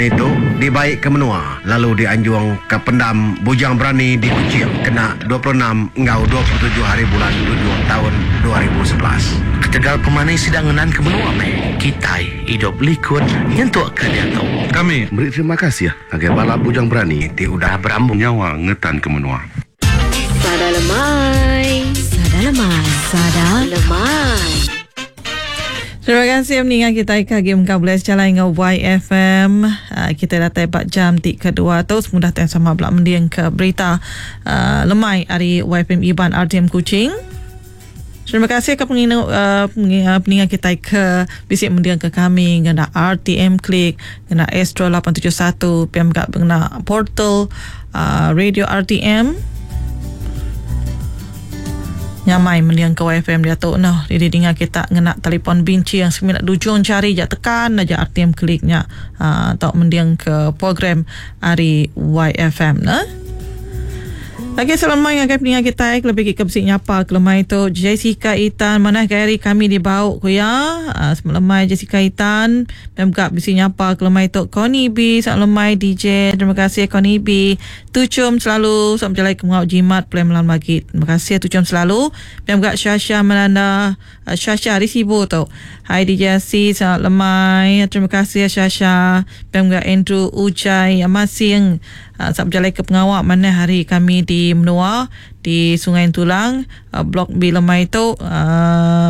Berani tu dibai ke menua lalu dianjung ke Pendam Bujang Berani di Kuching kena 26 enggau 27 hari bulan tujuh taun 2011. Ketegal pemani sida ngenanka menua meh kitai idup likun nyentuk ke diatu. Kami meri terima kasih ngagai bala Bujang Berani ti udah berambun. Nyawa ngetanka menua. Sada lemai. Sada lemai. Sada lemai. Terima kasih meninggal kita ke agi mengkang boleh sejalai enggau YFM. Ah, kita datai ba jam ti kedua tu semudah ti sama bela mending ke berita ah, lemai ari YFM Iban RTM Kuching. Terima kasih ke penginu, uh, peninga kita ke bisi mending ke kami ngena RTM Click, ngena Astro 871, PM gak ngena portal uh, radio RTM. Nyamai mending ke YFM dia tu noh. Jadi dengar kita ngena telefon binci yang semina dujung jari ja tekan aja RTM Click nya uh, tau mending ke program ari YFM nah. Lagi selemai ngagai peninga kitai kelebih agi ke bisi nyapa ke lemai tu Jessica Itan manah gaya hari kami di Bau ku iya. Uh, selemai Jessica Itan dan mega bisi nyapa ke lemai tu Connie B selamat lemai DJ. Terima kasih Connie B. Tuchum selalu selamat bejalai ke mengau jimat play malam lagi. Terima kasih tuchum selalu. Dan mega Shasha Melanda uh, Shasha di Sibu tu. Hai DJ C selamat lemai. Terima kasih Shasha. Dan mega Andrew Ujai Masing Sap bejalai ke pengawa manah hari kami di menua di Sungai Entulang, Blok B lemai tu.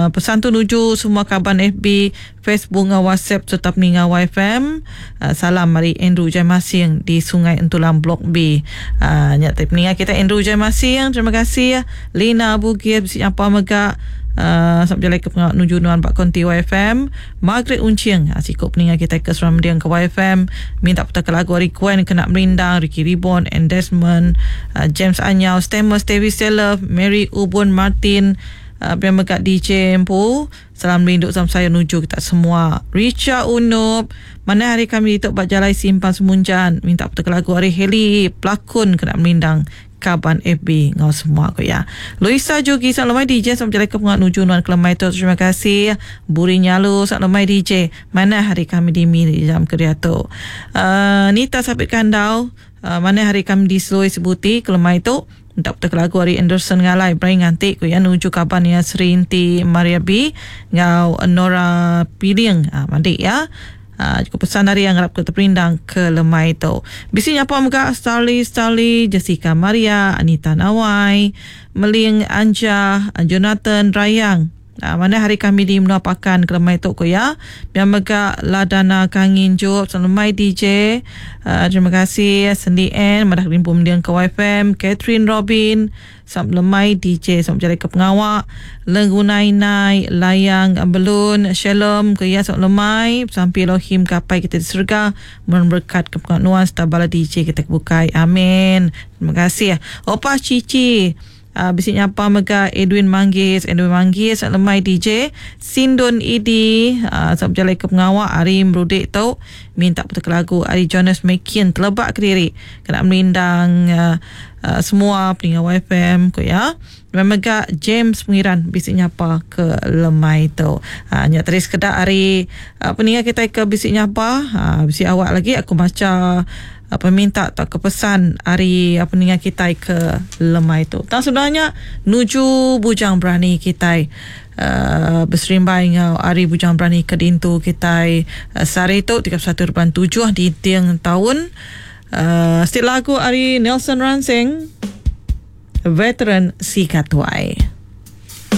Pesan tu nuju semua kaban FB, Facebook enggau WhatsApp sereta peninga YFM. Salam ari Andrew Jai Masing di Sungai Entulang Blok B. Nya ti peninga kita Andrew Jai Masing. Terima kasih. Lina Bugis bisi nyapa mega. Sap bejalai ke pengawa nuju nuan ba konti YFM. Margaret Unching, siku peninga kitai ke seruran mending ke YFM, minta putarka lagu ari Gwen kena merindang, Ricky Ribon and Desmond, James Anyau, Stamus Tevi Selove, Mary Ubun Martin, pia mega DJ empu. Salam rindu salam sayau nuju kita semua. Richa Unup, manah hari kami ditu ba Jalai Simpang Semunjan, minta putarka lagu ari Hailey Pelakun kena merindang kaban FB enggau semua ku iya. Luisa Jugi selamat lemai DJ selamat bejalai ke pengawa nuju nuan ke lemai tu terima kasih. Buri Nyalu selamat lemai DJ manah hari kami di Miri jam ke diatu. Uh, Nita Sapit Kandau uh, manah hari kami di Selui Sebuti ke lemai tu minta putar lagu ari Anderson Ngalai Brian nganti ku iya nuju kaban iya Sri Inti Maria B enggau Nora Piling uh, mandi ya. Cukup pesan ari ngarap ke teperindang ke lemai tu. Bisi nyapa mega Starly Starly, Jessica Maria, Anita Nawai, Meling Anja, Jonathan Rayang. Manah hari kami di menua Pakan ke lemai tu ku iya. Pia mega Ladana Kangin Jup lemai DJ. Terima kasih Sendi N madah rimpu mending ke YFM, Catherine Robin, Selamat lemai DJ selamat bejalai ke pengawa Lenggunai nai layang belun Shalom ke iya selamat lemai besampi Elohim ke apai kita di serega memberkat ke pengawa nuan serta bala DJ kita ke bukai amin terima kasih Opa Cici uh, bisi nyapa mega Edwin Manggis Edwin Manggis selamat lemai DJ Sindun Idi uh, selamat bejalai ke pengawa hari merudik tu minta putar lagu ari Jonas Mekin telebak kediri kena merindang uh, Semua peninga YFM ku iya. Memang mega James Pengiran bisi nyapa ke lemai tu. Ha, nya tadi sekeda ari peninga kitai ke bisi nyapa. Ha, bisi awak lagi aku macha peminta tauka pesan ari peninga kitai ke lemai tu. Tang sebenar nya nuju bujang berani kitai uh, beserimbai enggau ari bujang berani ke dintu kitai uh, sehari tu 31.7 di ting taun. Siti lagu ari Nelson Ransing, Veteran Sika Tuai.